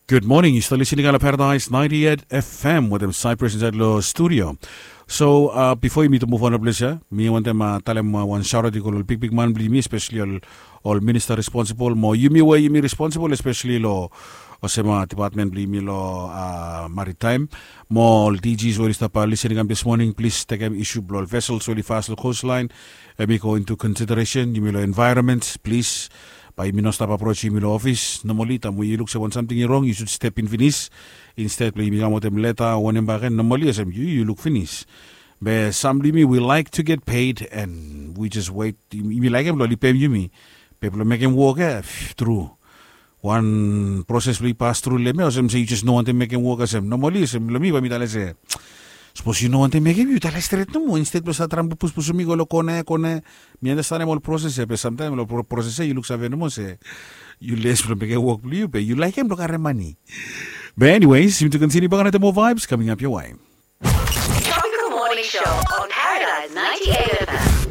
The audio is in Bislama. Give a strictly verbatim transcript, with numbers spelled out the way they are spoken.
Gud moning, yu stap listening long Paradise ninety-eight F M wetem Cyprus insaed long studio. So uh, bifo yumi to muv on long ples ya, mi wantem uh, talem uh, wan sharat i go long ol bigbig man blong yumi, especially ol, ol minista responsibol mo yumi we yumi responsibol, especially long olsem uh, department blong yumi long uh, maritime mo ol D Gs we oli stap uh, listening am this morning, plis tekem isu blong ol vessels we oli fas long coastline. Em i go into consideration, yumi long environment, plis. Bae yumi no stap approach yumi long ofis. Normally taem we yu luk se wan samting i rong, yu sud step in finis. Instead blong yumi kam wetem leta o wanem bakegen, normally olsem yu yu luk finis. Be sam blong yumi, we like to get paid and we just wait. Yumi laekem blong oli peim yumi. Be blong mekem wok ya, tru, wan proses blong i pas tru long em ya, olsem se yu jes no wantem mekem wok olsem. Normally olsem long mi bae mi talem se, sapos yu no wantem mekem, yu talem stret nomo, instead blong save traem blong puspusum mi go long kona ya kona ya. Mi andastanem ol proses ya, be samtaem long pro- proses ya yu luksave nomo se yu les blong mekem wok blong yu, be yu laekem blong karem mane. Be anyways, yumi tu kontiniu bak another more vibes coming up your way. Tropical Morning Show on Paradise ninety-eight F M.